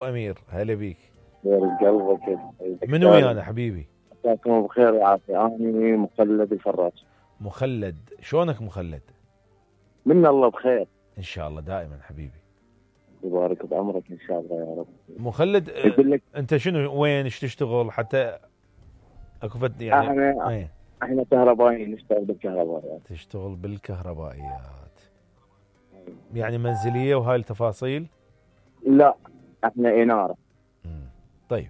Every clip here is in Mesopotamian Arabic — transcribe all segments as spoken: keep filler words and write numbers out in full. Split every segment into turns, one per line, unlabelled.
أمير هلا بيك.
دور قلبك.
منو ويانا حبيبي؟
مساكم بخير وعافية. أنا مخلد الفراش.
مخلد، شلونك مخلد؟
من الله بخير
إن شاء الله دائما حبيبي.
يبارك بعمرك إن شاء الله يا رب.
مخلد
يقول لك
أنت شنو وين ايش تشتغل حتى أكو فد يعني؟
احنا
ايه
احنا كهربائيين نشتغل بالكهربائيات.
تشتغل بالكهربائيات يعني منزلية وهاي التفاصيل؟
لا احنا إنارة.
مم. طيب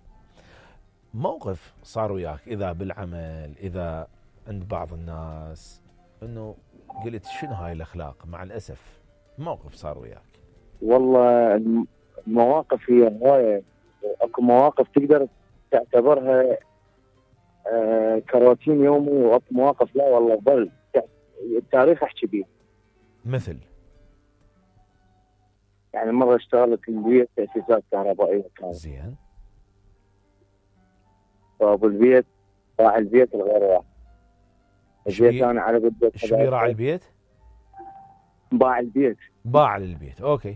موقف صار وياك إذا بالعمل إذا عند بعض الناس إنه قلت شنو هاي الأخلاق؟ مع الأسف موقف صار وياك.
والله المواقف هي هواية، اكو مواقف تقدر تعتبرها آه كراتين يومي، واكو مواقف لا والله ظل التاريخ احكي بيه.
مثل
يعني مرة اشتغلت بالبيت تأسيسات كهربائية كانت.
زين.
فابو البيت راعي البيت الغير واحد. جيت انا على قد
ايش بيه راعي البيت؟
باع البيت.
باع للبيت، اوكي.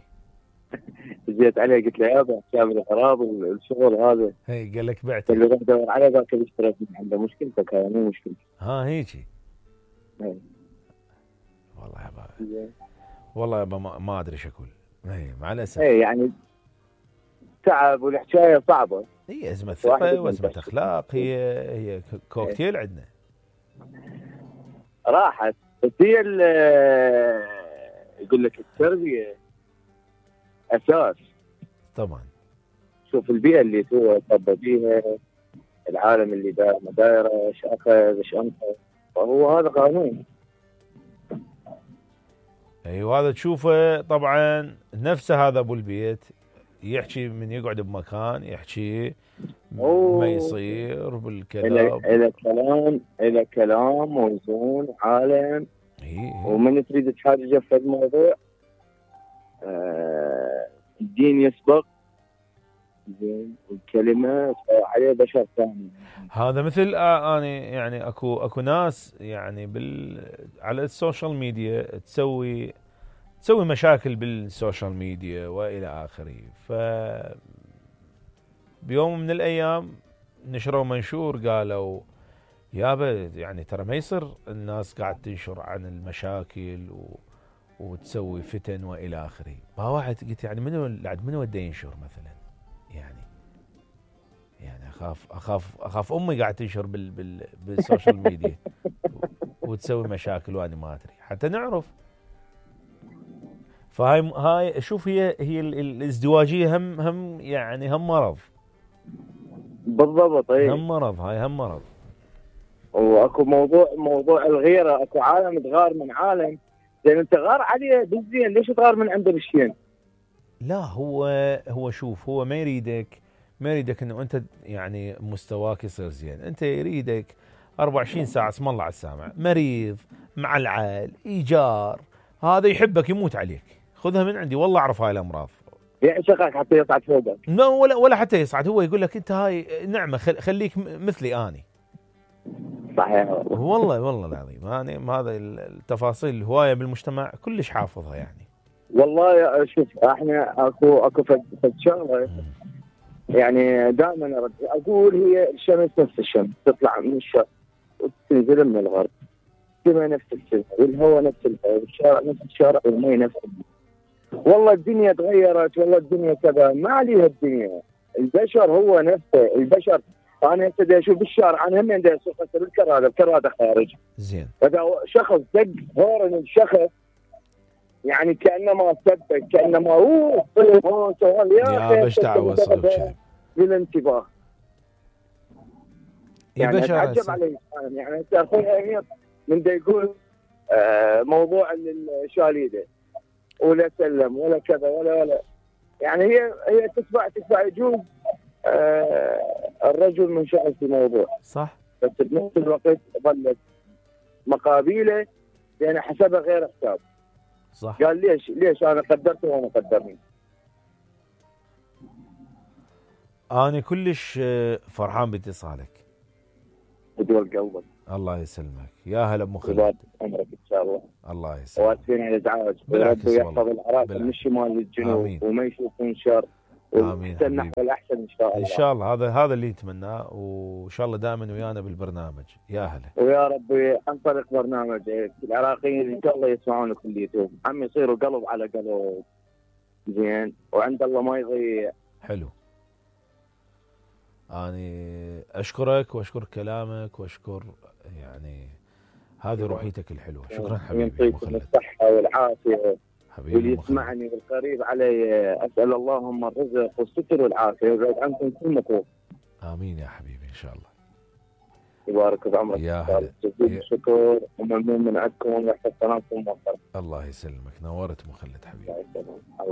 جيت عليه قلت له يابا حساب الخراب الشغل هذا.
هي قال لك بعته.
اللي روح دور عليه ذاك اللي اشتريت من عنده. مشكلتك هاي مو مشكلتي.
ها هيجي.
هي.
والله يابا والله يابا ما, ما ادري ايش اقول. اي مع الاسف.
اي يعني تعب والحكايه صعبه.
هي ازمه ثقه وازمه اخلاق، هي هي كوكتيل عندنا.
راحت بس هي يقول لك التربيه اساس.
طبعا.
شوف البيئه اللي هو تربى فيها، العالم اللي داير ما دايره، ايش اخذ ايش انقذ، فهو هذا قانون.
ايوه هذا تشوفه طبعا نفسه. هذا ابو البيت يحكي من يقعد بمكان يحكي ما يصير بالكلام.
الى كلام الى كلام موزون عالم.
إيه.
ومن تريد تحاججه في الموضوع آه الدين يسبق زين والكلمه عليه بشر ثاني.
هذا مثل آه انا يعني اكو اكو ناس يعني بال على السوشيال ميديا تسوي تسوي مشاكل بالسوشيال ميديا والى اخره. ف بيوم من الايام نشروا منشور قالوا يابا يعني ترى ما يصير الناس قاعد تنشر عن المشاكل و... وتسوي فتن والى اخره. ما واحد قلت يعني منو بعد منو بده ينشر مثلا؟ يعني يعني اخاف اخاف اخاف امي قاعد تنشر بال... بال... بالسوشيال ميديا وتسوي مشاكل وانا ما ادري حتى نعرف. فهاي هاي شوف هي هي الازدواجيه هم هم يعني هم مرض.
بالضبط. اي
هم مرض، هاي هم مرض.
واكو موضوع موضوع الغيره. اكو عالم تغار من عالم زين انت غار عليه بالزين، ليش تغار من عنده بالشين؟
لا هو هو شوف هو ما يريدك ما يريدك انه انت يعني مستواك يصير زين. انت يريدك أربعة وعشرين ساعه اسم الله على السامع مريض مع العال ايجار، هذا يحبك يموت عليك. خذها من عندي والله اعرف هاي الامراض.
يعشقك حتى يصعد فوقك.
لا ولا ولا حتى يصعد، هو يقول لك انت هاي نعمه خليك مثلي اني.
صحيح
والله والله العظيم. انا هذا التفاصيل الهوايه بالمجتمع كلش حافظها يعني.
والله شوف احنا اكو اكو فد شغله يعني دائما اقول هي الشمس نفس الشمس تطلع من الشرق وتنزل من الغرب. السماء نفس السماء والهواء نفس الهواء والشارع نفس الشارع والمي نفس المي. والله الدنيا تغيرت، والله الدنيا كذا، ما عليها الدنيا. البشر هو نفسه البشر. انا هسه بدي اشوف بالشارع، انا هم بدي اسوق هسه بالكراده، الكراده خارج.
زين.
فاذا شخص دق هورن الشخص يعني كانما سبك كانما اوه هون سوال
يا باش دعوه صار
بالانتباه.
يعني
اتعجب عليه يعني هسه اخوي امير من دا يقول آه موضوع الشاليده ولا سلم ولا كذا ولا ولا يعني هي هي تتبع تتبع يجوز آه الرجل منشغل في موضوع
صح،
بس بنفس الوقت ظلت مقابيله لان حسبها غير حساب.
صح.
قال ليش ليش انا قدرته وانا قدرني.
انا كلش فرحان باتصالك.
بدول قلبك.
الله يسلمك يا هلا ابو خالد.
عمرك ان شاء الله.
الله يسلمك.
واسفين على الازعاج.
بالعكس
يحفظ العراق من الشمال للجنوب وما يشوفون شر
امين
ونحسن نحو
حبيبي.
الاحسن ان شاء الله.
ان شاء الله هذا هذا اللي نتمناه، وان شاء الله دائما ويانا بالبرنامج. يا هلا.
ويا ربي عن طريق برنامجك العراقيين ان شاء الله يسمعون كليتهم، عم يصيروا قلب على قلب. زين، وعند الله ما يضيع.
حلو. اني اشكرك واشكر كلامك واشكر يعني هذه روحيتك الحلوه. شكرا حبيبي
يعطيكم الصحه والعافيه.
حبيبي
واللي يسمعني والقريب علي اسال اللهم الرزق والستر والعافيه ويبعد عنكم كل مكروه.
امين يا حبيبي ان شاء الله.
يبارك بعمرك.
يا هلا.
جزيل الشكر وممنون من عندكم ويحفظ صلاتكم ووفقكم.
الله يسلمك. نورت مخلد حبيبي.